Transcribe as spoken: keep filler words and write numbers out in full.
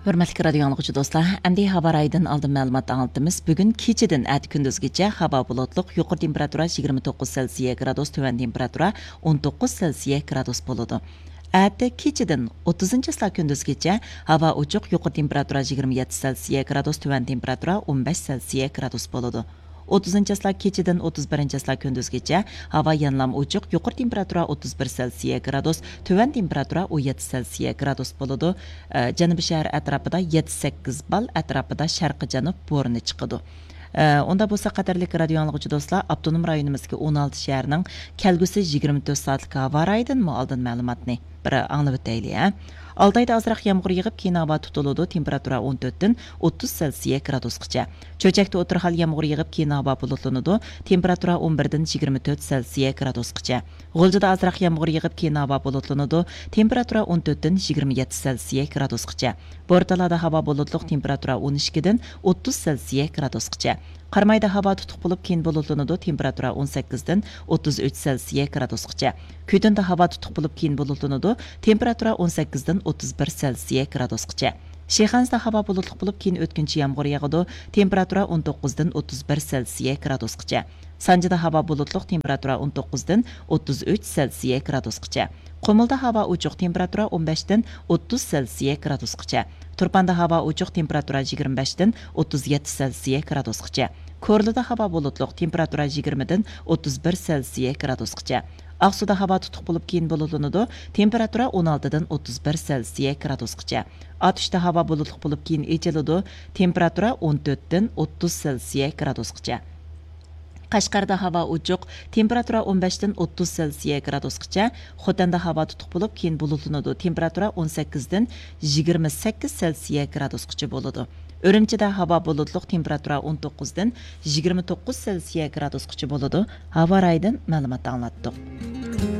ھۆرمەتلىك رادىيو ئاڭلىغۇچى دوستلار، ئەمدى ھاۋا رايىدىن ئالدىن مەلۇمات ئاڭلىتىمىز. بۈگۈن كېچىدىن ئەتە كۈندۈزگىچە ھاۋا بۇلۇتلۇق، يۇقىرى تېمپېراتۇرا يىگىرمە توققۇز سېلسىيە گرادۇس، تۆۋەن تېمپېراتۇرا ئون توققۇز سېلسىيە گرادۇس بولىدۇ. ئەتە كېچىدىن ئوتتۇزىنچى چىسلا كۈندۈزگىچە ھاۋا ئوچۇق، يۇقىرى تېمپېراتۇرا يىگىرمە يەتتە سېلسىيە گرادۇس، تۆۋەن تېمپېراتۇرا ئون بەش سېلسىيە گرادۇس بولىدۇ. ئوتتۇزىنچى چىسلا كېچىدىن ئوتتۇز بىرىنچى چىسلا كۈندۈزگىچە ھاۋا يەنىلا ئوچۇق، يۇقىرى تېمپېراتۇرا ئوتتۇز بىر سېلسىيە گرادۇس، تۆۋەن تېمپېراتۇرا ئون يەتتە سېلسىيە گرادۇس بولىدۇ. ئە، جەنۇبىي شەھەر ئەتراپىدا يەتتە سەككىز بال ئەتراپىدا شەرقىي جەنۇب بورىنى چىقىدۇ. ئە، ئۇندا بولسا، قەدىرلىك رادىيو ئاڭلىغۇچى دوستلار، ئاپتونوم رايونىمىزدىكى ئون ئالتە شەھەرنىڭ كەلگۈسى يىگىرمە تۆت سائەتلىك ھاۋا رايىدىنمۇ ئالدىن مەلۇماتنى بىر ئاڭلىۋېتەيلى، ھە؟ ئالتايدا ئازراق يامغۇر يېغىپ، كېيىن ھاۋا تۇتۇلىدۇ، تېمپېراتۇرا ئون تۆتتىن ئوتتۇز سېلسىيە گرادۇسقىچە. چۆچەكتە ئوتتۇرا ھال يامغۇر يېغىپ، كېيىن ھاۋا بۇلۇتلىنىدۇ، تېمپېراتۇرا ئون بىردىن يىگىرمە تۆت سېلسىيە گرادۇسقىچە. غۇلجىدا ئازراق يامغۇر يېغىپ، كېيىن ھاۋا بۇلۇتلىنىدۇ، تېمپېراتۇرا ئون تۆتتىن يىگىرمە يەتتە سېلسىيە گرادۇسقىچە. بورتالادا ھاۋا بۇلۇتلۇق، تېمپېراتۇرا ئون ئىككىدىن ئوتتۇز سېلسىيە گرادۇسقىچە. قارامايدا ھاۋا تۇتۇق بولۇپ، كېيىن بۇلۇتلىنىدۇ، تېمپېراتۇرا ئون سەككىزدىن ئوتتۇز ئۈچ سېلسىيە گرادۇسقىچە. كۈتۈندە ھاۋا تۇتۇق بولۇپ، كېيىن بۇلۇتلىنىدۇ، تېمپېراتۇرا ئون سەككىزدىن ئوتتۇز بىر سېلسىيە گرادۇسقىچە. شىخەنزىدە ھاۋا بۇلۇتلۇق بولۇپ، كېيىن ئۆتكۈنچى يامغۇر ياغىدۇ، تېمپېراتۇرا ئون توققۇزدىن ئوتتۇز بىر سېلسىيە گرادۇسقىچە. سانجىدا ھاۋا بۇلۇتلۇق، تېمپېراتۇرا ئون توققۇزدىن ئوتتۇز ئۈچ سېلسىيە گرادۇسقىچە. قۇمۇلدا ھاۋا ئوچۇق، تېمپېراتۇرا ئون بەشتىن ئوتتۇز سېلسىيە گرادۇسقىچە. تۇرپاندا ھاۋا ئوچۇق، تېمپېراتۇرا يىگىرمە بەشتىن ئوتتۇز يەتتە سېلسىيە گرادۇسقىچە. كورلىدا ھاۋا بۇلۇتلۇق، تېمپېراتۇرا يىگىرمىدىن ئوتتۇز بىر سېلسىيە گرادۇسقىچە. ئاقسۇدا ھاۋا تۇتۇق بولۇپ، كېيىن بۇلۇتلىنىدۇ، تېمپېراتۇرا ئون ئالتىدىن ئوتتۇز بىر سېلسىيە گرادۇسقىچە. ئاتۇشتا ھاۋا بۇلۇتلۇق بولۇپ، كېيىن ئېچىلىدۇ، تېمپېراتۇرا ئون تۆتتىن ئوتتۇز سېلسىيە گرادۇسقىچە. قەشقەردە ھاۋا ئوچۇق، تېمپېراتۇرا ئون بەشتىن ئوتتۇز سېلسىيە گرادۇسقىچە. خوتەندە ھاۋا تۇتۇق بولۇپ، كېيىن بۇلۇتلىنىدۇ، تېمپېراتۇرا ئون سەككىزدىن يىگىرمە سەككىز سېلسىيە گرادۇسقىچە بولىدۇ. ئۈرۈمچىدە ھاۋا بۇلۇتلۇق، تېمپېراتۇرا ئون توققۇزدىن يىگىرمە توققۇز سېلسىيە گرادۇسقىچە بولىدۇ. ھاۋا رايىدىن مەلۇمات ئاڭلاتتۇق.